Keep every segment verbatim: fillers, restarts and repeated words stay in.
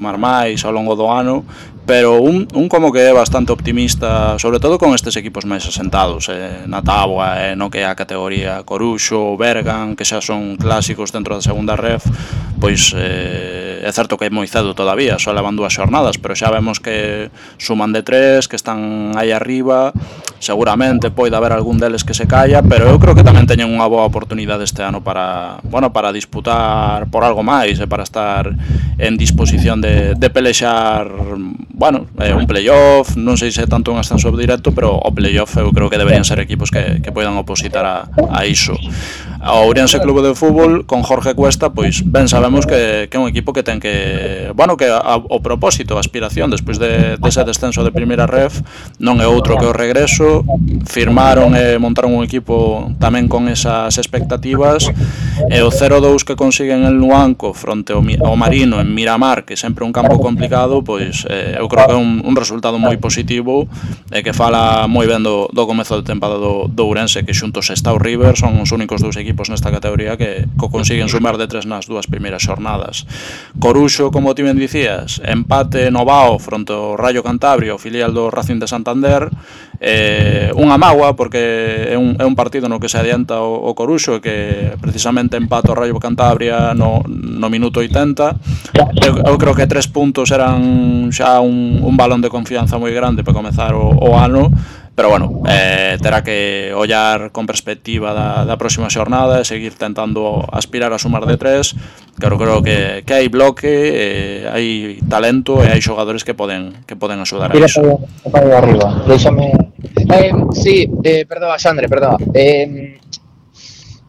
sumar máis ao longo do ano, pero un, un como que é bastante optimista, sobre todo con estes equipos máis asentados, eh, na táboa, eh, no que é a categoría Coruxo, Bergan, que xa son clásicos dentro da segunda ref, pois eh, é certo que é moi cedo todavía, só levan dúas xornadas, pero xa vemos que suman de tres, que están aí arriba, seguramente pode haber algún deles que se calla, pero eu creo que tamén teñen unha boa oportunidade este ano para, bueno, para disputar por algo máis e para estar en disposición de, de pelexar, bueno, eh, un playoff, non sei se é tanto un ascenso directo, pero o playoff eu creo que deberían ser equipos que, que poidan opositar a, a iso. O Ourense Clube de Fútbol con Jorge Cuesta, pois ben sabemos que, que é un equipo que ten que, bueno, que a, o propósito, a aspiración despois de, de ese descenso de primeira ref non é outro que o regreso. Firmaron e montaron un equipo tamén con esas expectativas, e o cero dous que consiguen en Luanco fronte ao, ao Marino en Miramar, que sempre é un campo complicado, pois eh, eu creo que é un, un resultado moi positivo e que fala moi ben do, do comezo de tempada do, do Ourense, que xuntos está o River, son os únicos dous equipos nesta categoría que, que consiguen sumar de tres nas dúas primeiras xornadas. Coruxo, como ti ben dicías, empate no Bao fronte ao Rayo Cantabria, o filial do Racing de Santander, eh, unha mágoa porque é un, é un partido no que se adianta o, o Coruxo, que precisamente empate o Rayo Cantabria no, no minuto oitenta. Eu, eu creo que tres puntos eran xa un, un balón de confianza moi grande para comezar o, o ano, pero bueno, eh, terá que ollar con perspectiva da, da próxima xornada e seguir tentando aspirar a sumar de tres. Claro, creo que, que hai bloque, eh, hai talento e hai xogadores que poden que poden axudar a iso. Tira para arriba, déxame... Eh, sí, eh, perdón, Xandre, perdón. Eh,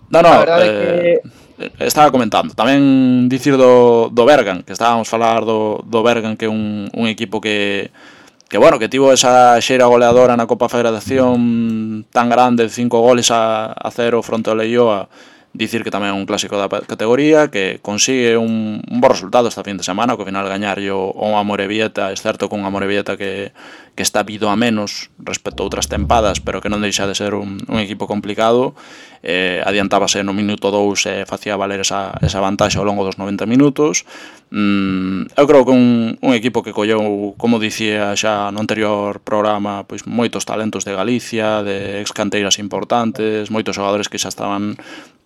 no, no, a verdade eh, que... estaba comentando, tamén dicir do, do Bergan, que estábamos a falar do, do Bergan, que é un, un equipo que que bueno, que tivo esa xeira goleadora na Copa Federación tan grande, cinco goles a, a cero fronte ao Leioa. Dicir que tamén é un clásico da categoría, que consigue un, un bo resultado esta fin de semana, que ao final gañarlle o, o Amorebieta, é certo que un Amorebieta que, que está vido a menos respecto a outras tempadas, pero que non deixa de ser un, un equipo complicado. Eh, adiantábase no minuto dous e facía valer esa, esa vantaxe ao longo dos noventa minutos. Mm, eu creo que un, un equipo que colleu, como dicía xa no anterior programa, pois moitos talentos de Galicia, de excanteiras importantes, moitos xogadores que xa estaban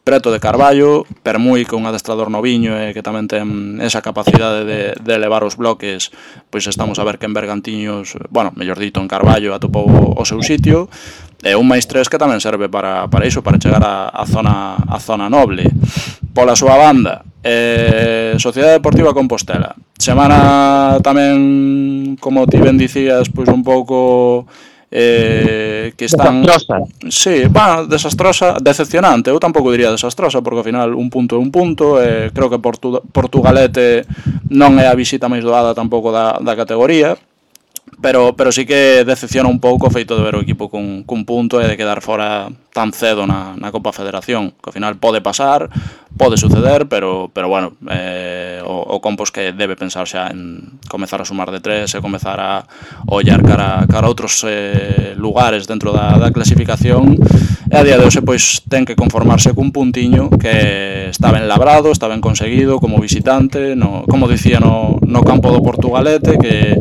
preto de Carballo, Permui, que é un adestrador noviño e que tamén ten esa capacidade de, de elevar os bloques, pois estamos a ver que en Bergantiños, bueno, mellor dito, en Carballo atopou o seu sitio, e un máis tres que tamén serve para, para iso, para chegar a, a, zona, a zona noble. Pola súa banda, eh, Sociedade Deportiva Compostela, semana tamén, como ti ben dicías, pois un pouco... Eh, que están... Desastrosa. Sí, bueno, desastrosa, decepcionante. Eu tampouco diría desastrosa, porque ao final un punto é un punto. eh, Creo que Portu Portugalete non é a visita máis doada tampouco da, da categoría, pero, pero sí que decepciona un pouco o feito de ver o equipo cun, cun punto e de quedar fora tan cedo na, na Copa Federación, que ao final pode pasar, pode suceder, pero, pero bueno, eh, o, o Compos que debe pensar xa en comezar a sumar de tres e comezar a ollar cara, cara a outros eh, lugares dentro da, da clasificación, e a día de hoxe pois ten que conformarse cun puntiño que está ben labrado, está ben conseguido como visitante, no, como dicía no, no campo do Portugalete, que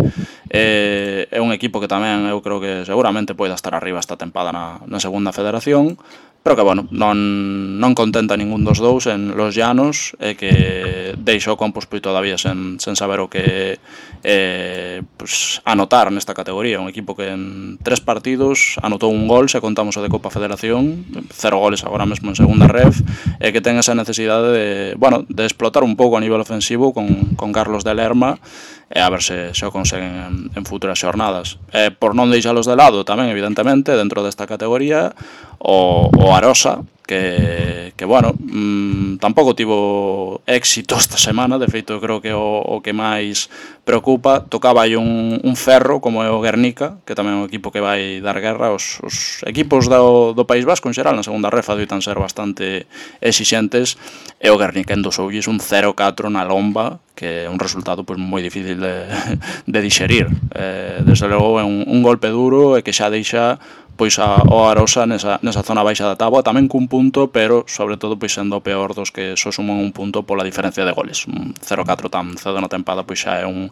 eh, é un equipo que tamén eu creo que seguramente poida estar arriba esta tempada na, na segunda federación, pero que, bueno, non, non contenta ningún dos dous en Los Llanos, e que deixou o Compos pois todavía sen, sen saber o que eh, pues, anotar nesta categoría. Un equipo que en tres partidos anotou un gol, se contamos o de Copa Federación, cero goles agora mesmo en segunda ref, e que ten esa necesidade de, bueno, de explotar un pouco a nivel ofensivo con, con Carlos de Lerma, e a ver se, se o conseguen en, en futuras xornadas. E por non deixalos de lado tamén, evidentemente, dentro desta categoría, o, o Arosa, que, que bueno, mmm, tampouco tivo éxito esta semana. De feito, creo que o, o que máis preocupa, tocaba aí un, un ferro como é o Guernica, que tamén é un equipo que vai dar guerra. Os, os equipos do, do País Vasco en xeral na segunda refa doitan ser bastante exixentes, e o Guernica endosoulles un cero catro na lomba, que é un resultado pois moi difícil de, de dixerir. Eh, desde logo é un, un golpe duro e que xa deixa pois a, o Arosa nesa, nesa zona baixa da táboa, tamén cun punto, pero sobre todo pois sendo o peor dos que só suman un punto pola diferencia de goles. Un cero catro tan cedo na tempada pois xa é un,